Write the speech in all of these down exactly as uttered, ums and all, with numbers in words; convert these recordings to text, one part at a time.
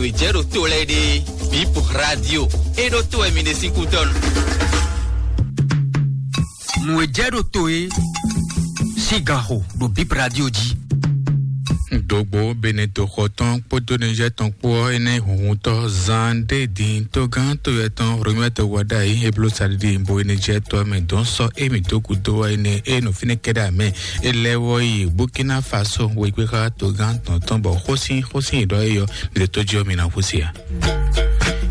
Nǔ e jɛ ɖo to lɛ́ɛ ɖe, Bip Radio. É ɖó to wɛ mi ɖe sín kútɔ́nu. Nǔ e jɛ ɖo to é, sín ganxo ɖo Bip Radio jí. Dogbo Beneto xɔ tɔn kpódó Niger tɔn kpó ɔ́, énɛ́ hunhuntɔ́ zan ɖé din tógán toyɛ tɔn Romɛto Wadayi e bló saɖiɖi bo e Niger tɔn mɛ dɔn sɔ́ émí dó gǔdo wá énɛ́ e nɔ fínɛ́ kɛɖɛ amɛ. É lɛ́ wɔ yi Burkina Faso wegbe xá togán tɔn tɔn bɔ xósin xósin ɖɔ é yɔ mi ɖo tó jí ɔ́ mi ná xú se a?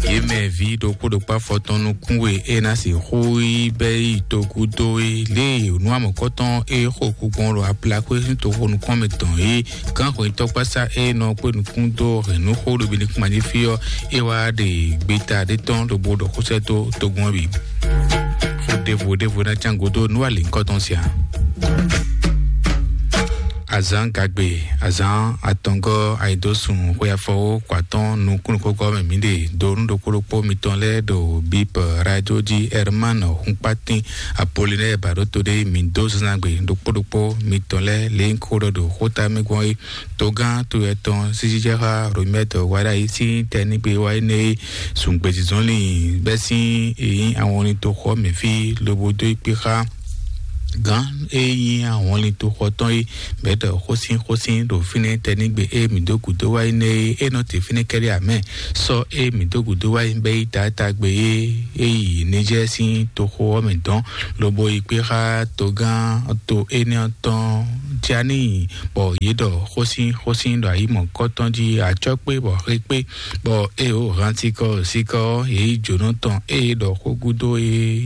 Yě mɛ ví ɖokpó ɖokpó afɔtɔn nukún we é ná sixú yi bɛ́ yi togúdó é lě e nú amɔ̌kɔ́tɔn é xo kú gbɔn ɖo aplaxwé sín toxo nukún mɛ tɔn é gán hwɛntɔ́kpásá é nɔ kpé nukún dó hɛ̌nnúxó ɖo Benikúmají fí ɔ́, é wá ɖe gbeta ɖé tɔn ɖo bó ɖɔ xó sɛ́ dó togun ɔ́ bǐ. Xó ɖěvo ɖěvo ná cán gúdo nú alǐnkɔ́tɔn sia. Azǎn gagbe, azǎn atɔngɔ́ ayidósun xwe afɔwó kɔ atɔ́ɔ́n nukúnnukúngɔ́ mɛ mǐ ɖe dó nú ɖokpó ɖokpó mitɔn lɛ́ɛ ɖo Bip Radio jí. Herman Hunkpatín Apolinɛ́ɛ Baɖóto ɖé mǐ dó zínzán gbe ɖokpó ɖokpó mitɔn lɛ́ɛ lě e un ko ɖɔ ɖo xóta mɛ gbɔn é. Togán to etɔn sísíjɛxá Romɛ́t Wadayi sín tɛnígbe wá énɛ́ e zungbezǐzɔ́nlin bɛ́ sín e nyí awɔnlin toxɔ mɛ fí lobo dó ikpé xá gǎn e nyí awɔnlin toxɔ tɔn é bɛ̌ ɖɔ xósin xósin ɖo fínɛ́ tɛnígbe e mǐ dó gǔdo wá énɛ́ é é nɔ te fínɛ́ kɛ́ɖɛ́ amɛ sɔ́ e mǐ dó gǔdo wá é bɛ́ yi taátagbe é é yi Nijɛ́ɛ sín toxo ɔ́ mɛ dɔn lobo yi kpé xá togán to énɛ́ ɔ́ tɔn Tiani bɔ yě ɖɔ xósin xósin ɖo ayi mɔ̌kɔtɔn jí acɔ́ kpé bɔ xe kpé bɔ ée wǒ hán sikɔ sikɔ ɔ́ yě yi jǒnɔ tɔn ée ɖɔ xó gúdo é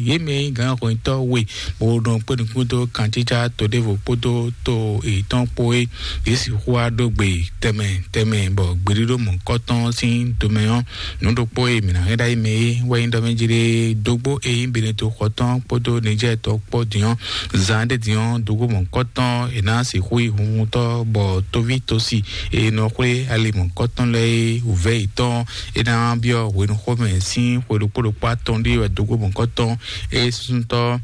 yě mɛ nyí gǎnhwɛntɔ́ we bó nɔ kpé nukún dó kancícá to ɖěvo kpódó to yětɔn kpó é yě sixú wá ɖó gbe tɛnmɛ tɛnmɛ bɔ gbeɖíɖó mɔ̌kɔtɔn sín tomɛ ɔ́ nǔ ɖokpó e mǐ ná hɛn ɖ'ayǐ mɛ é wɛ nyí ɖɔ mɛ jí ɖe dógbó e nyí Beneto xɔ tɔn kpódó Nijɛ́ɛ tɔn kpó din ɔ́ zan ɖé din ɔ́ dógbó mɔ̌kɔtɔn è nǎ sixú yi hunhuntɔ́ bɔ tóví tosi e nɔ xwlé ali mɔ̌kɔtɔn lɛ́ɛ é wǔvɛ́ yětɔn é ná byɔ́ hwenuxómɛ sín xwe ɖokpó ɖokpó atɔn ɖé wɛ dógbó mɔ̌kɔtɔn é súsútɔ́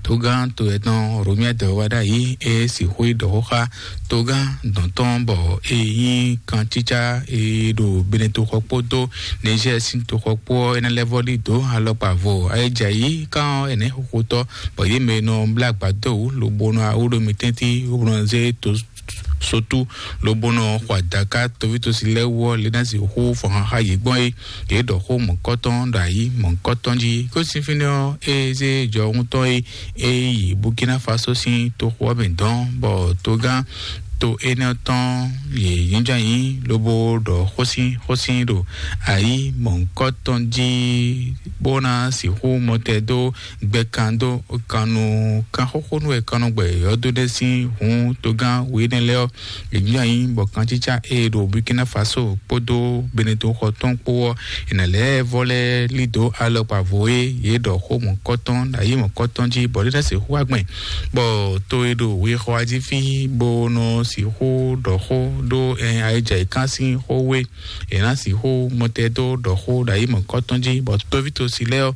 togán to etɔn Romiɛdɔ wá ɖ'ayǐ é sixú yi ɖɔ xó xá togán dɔ̌n tɔn bɔ é nyí kancícá e ɖo Beneto xɔ kpódó Nizɛ́ɛ sín toxɔ kpó ɔ́ é ná lɛ́ vɔ́ ɖi dǒ alɔkpa vo ayéjayǐ kán ɔ́ é nɛ́ xoxotɔ́ bɔ yě mɛ e nɔ blá agbadó wǔ lobo nɔ awú ɖo mi tɛ́ntin bó nɔ zé to sotú lobo nɔ xɔ adaka toví tosi lɛ́ɛ wú ɔ́ lě ná sixú fɔn xaxa yě gbɔn é yě ɖɔ xó mɔ̌kɔtɔn ɖo ayǐ mɔ̌kɔtɔn jí kó sín fínɛ́ ɔ́ é zé jɔhún tɔn é é yi Burkina Faso sín toxo ɔ́ mɛ dɔn bɔ togán to énɛ́ tɔn yě nyíjɔ anyi lobo ɖɔ xósin xósin ɖo ayǐ mɔ̌kɔtɔn jí bó ná sixú mɔtɛ dó gbɛkan dó kan nú kan xóxó nú wɛ kan nɔ gbɛ yɔ́dó ɖé sín hǔn togán wěnɛ lɛ́ɛ ɔ́ è nyí anyi bɔ kancícá e ɖo Burkina Faso kpódó Beneto xɔ tɔn kpó ɔ́ è nǎ lɛ́ vɔ lɛ́ lí dǒ alɔkpa vo e yě ɖɔ xó mɔ̌kɔtɔn ɖo ayǐ mɔ̌kɔtɔn jí bɔ é ná sixú wá gbɛn bɔ to e ɖo wexɔ jí fí bó nɔ sixú ɖɔ xó ɖó ayéjayǐkán sín xó wé è nǎ sixú mɔtɛ dó ɖɔ xó ɖo ayǐ mɔ̌kɔtɔn jí bɔ tóví tosi lɛ́ɛ ɔ́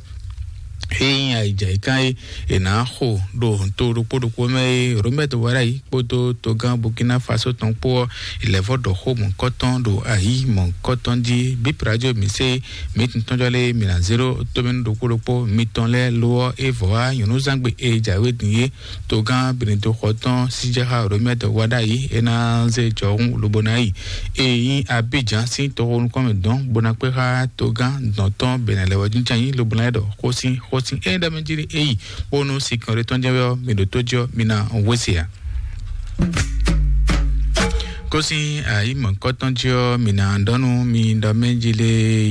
é nyí ayǐjayǐkán e è nǎ xo ɖo to ɖokpó ɖokpó mɛ é Romɛ́t Wadayi kpódó togán Burkina Faso tɔn kpó ɔ́ è lɛ́ vɔ ɖɔ xó mɔ̌kɔtɔn ɖo ayǐ mɔ̌kɔtɔn jí. Bip Radio mi se mi tɔn jɔ lé mi ná zéro tómɛnu ɖokpó ɖokpó mitɔn lɛ́ɛ lo ɔ́ é vɔ wá nyɔ̌núzangbe e jǎwe din é togán Beneto xɔ tɔn síjɛxá Romɛ́t Wadayi é ná zé jɔhún lobo ná yi e nyí Abidjan sín toxo nukɔn mɛ dɔn bó ná kpé xá togán dɔn tɔn bɛnɛ lɛ wɛ jínján yí lobo ná yi ɖɔ xósin xósin é ɖɔ mɛ jí é yi bónú sinkɔn ɖé tɔn jẹ́ wɛ ɔ́ mi ɖo tó jí ɔ́ mi ná wése ǎ. Kósin ayǐ mɔ̌kɔtɔn jí ɔ́ mi ná ɖɔnu mi ɖɔ mɛ jí lé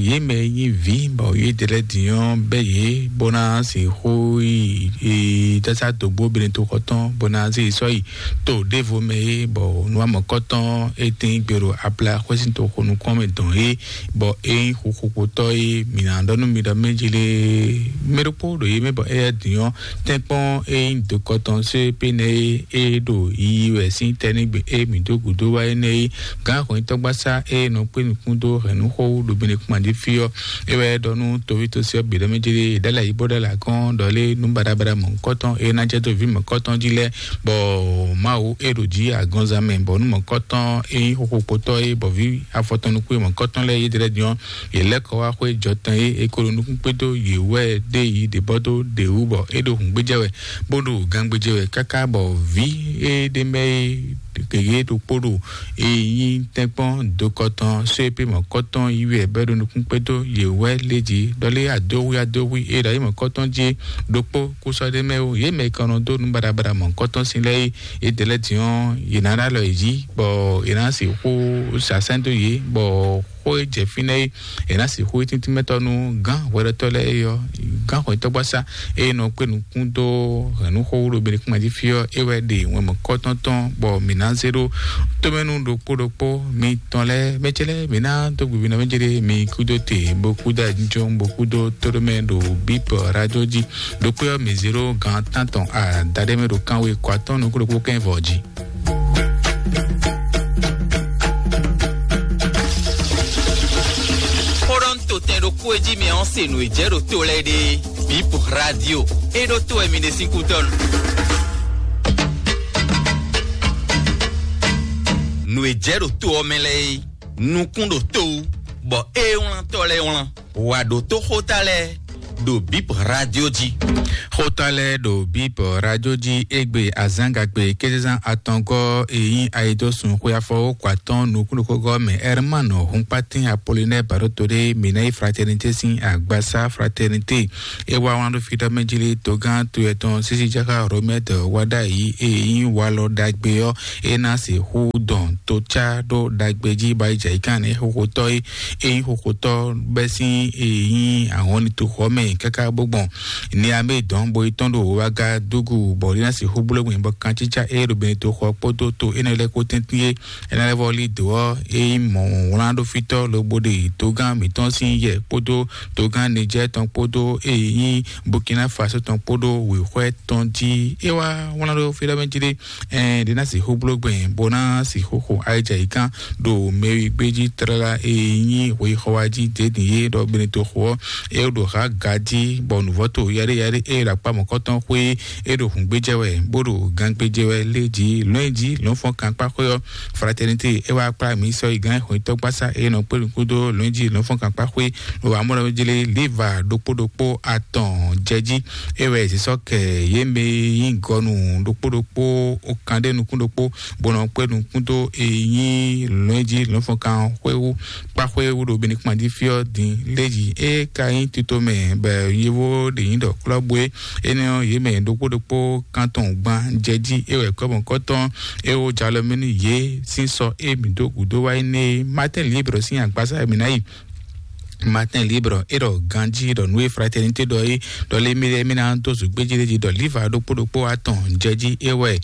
yě mɛ nyí vǐ bɔ yě dɛ lɛ́ din ɔ́ bɛ́ yě bó ná sixú yi yi tásá dǒgbó Beneto xɔ tɔn bó ná zé yi sɔ́ yi to ɖěvo mɛ é bɔ nú amɔ̌kɔtɔn é tín gbèrò abla xwésín toxo nukún mɛ dɔn é bɔ é nyí xuxuxotɔ́ é mi ná ɖɔ nú mi ɖɔ mɛ jí lé mɛ ɖokpó ɖo yě mɛ bɔ éyɛ́ din ɔ́ tɛ́nkpɔ́n é nyí dokɔtɔn sé pénɛ é é ɖo yiyi wɛ sín tɛ́ nɛ́ gbe é mǐ dó gǔdo wá é énɛ́ é, gǎn hɔnyitɔ́gbasá e nɔ kpé nukún dó hɛ̌nnúxó wú ɖo Benekuma jí fí ɔ́, é wɛ ɖɔ nú toví tosí ɔ́ bǐ ɖɔ mɛ jɛɖe, ɖala yí bó ɖala gɔ́n ɖɔ lé nú baɖabaɖa mɔ̌hunkɔtɔn e ná jɛ dó vǐ mɔ̌hunkɔtɔn jí lɛ́ɛ, bɔ Mawu e ɖo jí agɔnzan mɛ, bɔ nú mɔ̌hunkɔtɔn e nyí xoxokpotɔ́ é, bɔ vǐ afɔtɔn nukún e mɔ̌hunkɔtɔn lɛ́ɛ yí ɖlɛ́ din ɔ́, yě lɛ́ kɔ wá xwé jɔtɛn e è ko ɖo nukún kpé dó yě wɛ ɖ'é yi ɖě bɔ dó ɖě wú, bɔ é ɖo hǔngbéjɛ wɛ, bó ɖo gangbéjɛ wɛ káká bɔ vǐ e ɖ'é mɛ é gěgé ɖokpó ɖo e nyí tɛ́nkpɔ́n dokɔtɔn só e pé mɔ̌kɔtɔn yi wɛ bɔ é ɖo nukún kpé dó yě wɛ lé jí ɖɔ lé adóhwi adóhwi e ɖo ayǐ mɔ̌kɔtɔn jí ɖokpó kú sɔ́ ɖ'é mɛ ó. Yě mɛ e ka nɔ dó nú baɖabaɖa mɔ̌kɔtɔn sín lɛ́ɛ é, yě ɖe lɛ́ɛ din ɔ́, yě ná ɖo alɔ yě jí, bɔ è nǎ sixú sasɛ́n dó yě, bɔ xó e jɛ fínɛ́ é, è nǎ sixú yí tíntímɛtɔ́ nú gǎn hwɛɖɔtɔ́ lɛ́ɛ é ɔ́, gǎn hwɛtɔ́gbasá e nɔ kpé nukún dó hɛ̌nnúxó wú ɖo Benekuma jí fí ɔ́, é wɛ ɖe wɛn mɔ̌kɔtɔn tɔn, bɔ mǐ ná zé ɖó tómɛnu ɖokpó ɖokpó mitɔn lɛ́ɛ. Mɛ ce lɛ́ɛ, mǐ ná dó gbiví nɔ mɛ jɛɖe mi kúdó te, bó kúdó ajínjɔ́n, bó kúdó tóɖómɛ ɖo bíp radio jí. Ɖokpé ɔ́, mǐ zé ɖó gǎn tántɔn adaɖé mɛ ɖo kánwe kɔ atɔ́n nukún ɖokpó kɛ́n vɔ jí. Xóɖɔ́ntò tɛn ɖokpó e jí mi ɔ́ se nǔ e jɛ ɖo to lɛ́ɛ ɖe. Bip radio. E ɖó to wɛ mi ɖe sín kútɔ́ nu. Nǔ e jɛ ɖo to ɔ́ mɛ lɛ́ɛ é, nukún ɖo to wú, bɔ é wlántɔ́ lɛ́ɛ wlán. Wǎ ɖótó xóta lɛ́ɛ ɖo Bip radio jí. Xóta lɛ́ɛ ɖo Bip radio jí égbé azǎngagbe kézezán atɔngɔ́ e nyí ayidósun xwe afɔwókɔ atɔn nukúnɖokógɔ́ mɛ Herman Hunkpatin Apollinaire Baɖótodé Minayi Fraternité sín agbasá Fraternité. É wá wlán ɖó fí ɖɔ mɛ jí lé togán to yɛtɔn sísí jáká Romɛt Wadayi e nyí walɔ ɖagbe ɔ́, é ná sixú dɔn tó cá ɖó ɖagbe jí ba yi jɛ yi kán ní xoxotɔ́ é. Ényí xoxotɔ́ bɛ́ sín e nyí ahɔnlitoxɔ mɛ káká bó gbɔn Niamé dɔn bo yi tɔn ɖo Wagadugu bɔ é ná sixú bló gbɛn bɔ kancícá e ɖo Benetoxɔ kpódó to énɛ́ lɛ́ɛ kpó tɛ́ntin é. É ná lɛ́ vɔ lí dǒ ɔ́, é nyí mɔ̌ wlán ɖó fítɔ́ lobo ɖe dogán mǐtɔn sín yɛ kpódó dogán Nijɛ́ɛ tɔn kpódó e nyí Burkina Faso tɔn kpódó wěxwɛ́ tɔn jí. É wá wlán ɖó fí ɖɔ mɛ jí ɖé, ɛn ɖě ná sixú bló gbɛn bó ná sixú xo ayijɛ yi kán ɖo mɛwi gbé jí tlala e nyí hwexɔ wá jí dě din yé ɖɔ Benetoxo ɔ́, é ɖo ha ga jí bɔ nǔvɔ́ to yaɖé yaɖé e ɖo akpá mɔ̌kɔtɔn xwé é ɖo hǔngbéjɛ wɛ bó ɖo gangbéjɛ wɛ lé jí lɔ̌nyí jí lɔ̌nfɔ́n kankpá xwé ɔ́. Fraternité é wá kplá mǐ sɔ́ yi gán xwetɔ́gbasá e nɔ kpé nukún dó lɔ̌nyí jí lɔ̌nfɔ́n kankpá xwé ɖo amɔ́ jlé liva ɖokpó ɖokpó atɔn jɛ jí. É wɛ zǐsɔ́ kɛ yě mɛ e nyí gɔnu ɖokpó ɖokpó ó kan ɖé nukún ɖokpó, bó nɔ kpé nukún dó e nyí lɔ̌njí lɔ̌nfɔnkan xwé wú kpá xwé wú ɖo Benekuma jí fí ɔ́ din lé jí. É ka nyí tito mɛ bɔ yěvó ɖě nyí ɖɔ klɔ́bú é. Énɛ́ ɔ́, yě mɛ ɖokpó ɖokpó kan tɔn gban jɛ jí. É wɛ kɔ́mɔkɔ́tɔn é wó jalɔ mɛ nú yě sín sɔ é mǐ dó gǔdó wá énɛ́ é. Martin Libre sín agbasa mǐ ná yi. Martin Libre é ɖɔ ganjí ɖɔ nú e Fraternité ɖɔ é ɖɔ lé mí lɛ́ɛ mí ná dó zǔgbéjí lé jí ɖɔ líva ɖokpó ɖokpó atɔn jɛ jí é wɛ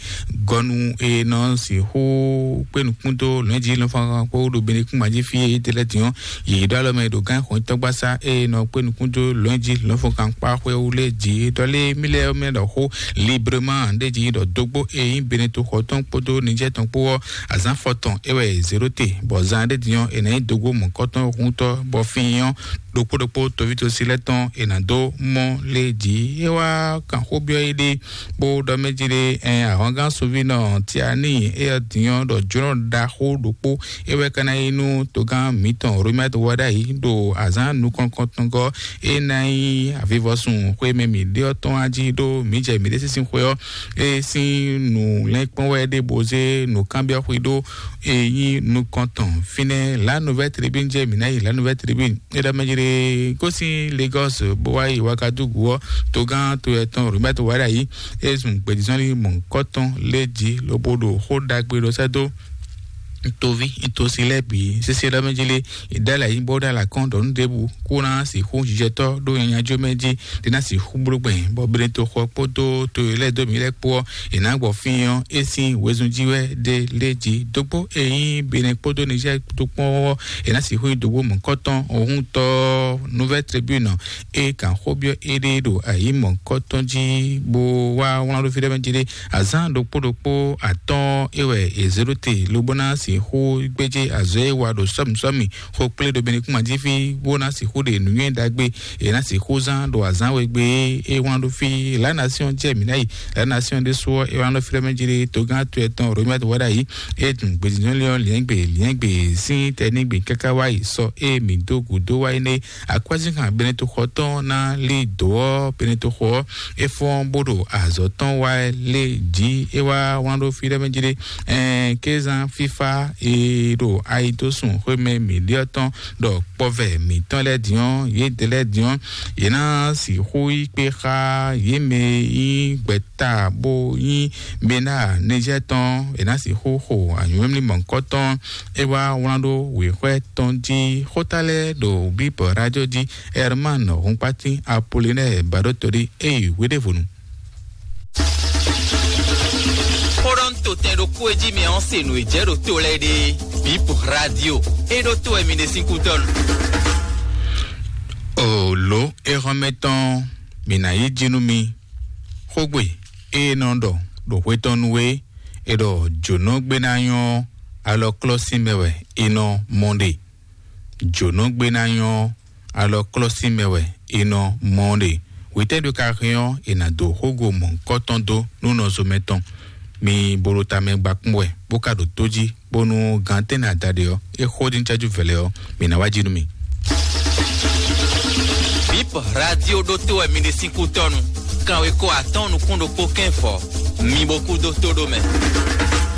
gɔnu e nɔ sixú kpé nukún dó lɔ̌njí lɔnfɔnkan kpó ɖo Benekuma jí fí é tɛ lɛ́ din ɔ́, yě ɖó alɔ mɛ ɖo gán xɔnyitɔ́gbasá e nɔ kpé nukún dó lɔ̌njí lɔnfɔnkan kpá xwé wú lé jí ɖɔ lé mí lɛ́ɛ mɛ ɖɔ xó librement ɖé jí ɖɔ dógbó e nyí Beneto xɔ tɔn kpódó Nijɛ́ tɔn kpó ɔ́, azǎn fɔtɔn é wɛ è zě ɖó te, bɔ zan ɖé din ɔ́, è nǎ nyí dógbó mɔ̌kɔtɔn huntɔ́ bɔ fín ɔ́ ɖokpó ɖokpó toví tosi lɛ́ɛ tɔn è nǎ dó mɔ lé jí. É wá kan xó byɔ́ éɖée bó ɖɔ mɛ jí ɖé, ɛn ahɔngán sunvínɔ Tiani éyɛ́ din ɔ́ ɖɔ jlɔ́ ɖaxó ɖokpó é wɛ ka ná nyí nú togán mǐtɔn Romɛ́t Wadayi ɖo azǎn nukɔn kɔntɔngɔ́ é ná nyí avivɔsun xwé mɛ mǐ ɖe ɔ́ tɔn wá jí ɖó mǐ jɛ mǐɖée sín xwé ɔ́ é sín nǔ lɛ́nkpɔ́n wɛ ɖé bó zé nǔkanbyɔ́ xwé ɖó é nyí nukɔntɔn fínɛ́. La Nouvelle Tribune jɛ mǐ ná yi La Nouvelle Tribune é ɖɔ mɛ jí ɖé gosín Lagos bó wá yi Wagadugu ɔ́, togán to yɛtɔn Robert Wadayi é zun gbědízɔ́nlí mɔ̌hunkɔtɔn lé jí lobo ɖo xó ɖagbe ɖɔ sɛ́ dó toví tosi lɛ́ɛ bǐ sésé ɖɔ mɛ jí lé. Ìdálà yí bó ɖó alakɔ́n ɖɔ nú ɖěbǔ kó ná sixú jijɛtɔ́ ɖó nyanya jó mɛ jí ɖé ná sixú bló gbɛn bɔ Beneto xɔ kpódó to e lɛ́ɛ dó mǐ lɛ́ɛ kpó ɔ́, è nǎ gbɔ fín ɔ́ é sín wezun jí wɛ ɖé lé jí dógbó e nyí Benɛ kpódó Nizɛ́ɛ kpódó kpɔ́n ɔ́, è nǎ sixú nyí dǒgbó mɔ̌kɔtɔn òhúntɔ́ Nouvelle Tribune e kan xó byɔ́ éɖée ɖo ayǐ mɔ̌kɔtɔn jí bó wá wlán ɖó fí ɖé mɛ jí ɖé. Azǎn ɖokpó ɖokpó atɔ́ɔ́n é wɛ è zě ɖó te lobo ná Xó gbéjé azɔ̌ e wa ɖo sɔ́mǐsɔ́mǐ xó kplé ɖo Benɛkúma jí fí, bó ná sixú ɖe nǔnywɛ́ ɖagbe e ná sixú zán ɖo azǎn we gbe é wlán ɖó fí. La Nation jɛ mǐ ná yi. La Nation ɖésú ɔ́, é wlán ɖó fí ɖɔ mɛ jí ɖé togán to ɛtɔn Romia wɛ ɖ'ayǐ. É dun gbedinɔ́lé ɔ́ liɛ́ngbe liɛ́ngbe sín tɛnígbe káká wá yi sɔ é mǐ dó gǔdó wá énɛ́. Akwɛ́zínkan Benɛtoxɔ tɔn ná lí dǒ ɔ́, Benɛtoxɔ ɔ́ é fɔ́n bó ɖo azɔ̌ tɔn wá lé jí. É wá wlán ɖó fí ɖɔ mɛ jí ɖé. Ɛn kézán fífá e ɖo ayi dó sun xwémɛ mǐɖyɔ́ tɔn ɖɔ kpɔvɛ mǐtɔn lɛ́ɛ din ɔ́, yědɛɛ lɛ́ɛ din ɔ́, yě ná sixú yí kpé xá yě mɛ e nyí gbɛta bó nyí Bena Nizɛ́ɛ tɔn, è nǎ sixú xo anyǔmlímlí mɔ̌hunkɔtɔn. É wá wlán ɖó wěxwɛ́ tɔn jí xóta lɛ́ɛ ɖo Bíbɔ rájɔ jí. Herman Hunkpatín Apolinɛ́ɛ Baɖótolí é yi hweɖěvonu. Xó ɖɔ un to tɛn ɖokpó e jí mɛ ɔ́ se nǔ e jɛ ɖo to lɛ́ɛ ɖe. Bip Radio, é ɖó to wɛ mi ɖe sín kútɔ́nu. O lǒ é hɔn mɛ tɔn, mǐ ná yí jí nú mi. Xógbe e nɔ ɖɔ ɖo xwé tɔn nu é, è ɖɔ jǒnɔgbénányɔ alɔklɔ́sin mɛ wɛ è nɔ mɔ ɖe. Jǒnɔgbénányɔ alɔklɔ́sin mɛ wɛ è nɔ mɔ ɖe. Hwetɛ́ ɖo ka hɛn ɔ́, è nǎ dó xógo mɔ̌hunkɔtɔn dó nú nɔzo mɛtɔn. Mi bo ɖo tamɛ gba kpɔ́n wɛ, bó ka ɖo tó jí, bónú gantɛ́nɛ adaɖe ɔ́, é xó ɖi nú cájú vɛ̌lɛ́ ɔ́, mǐ ná wá jí nú mi. Bip Radio ɖótó wɛ mi ɖe sín kútɔ́nu. Kanwekó atɔ́ɔ́n nukún ɖokpó kɛ́n fɔ. Mi bo kú dó tó ɖó mɛ.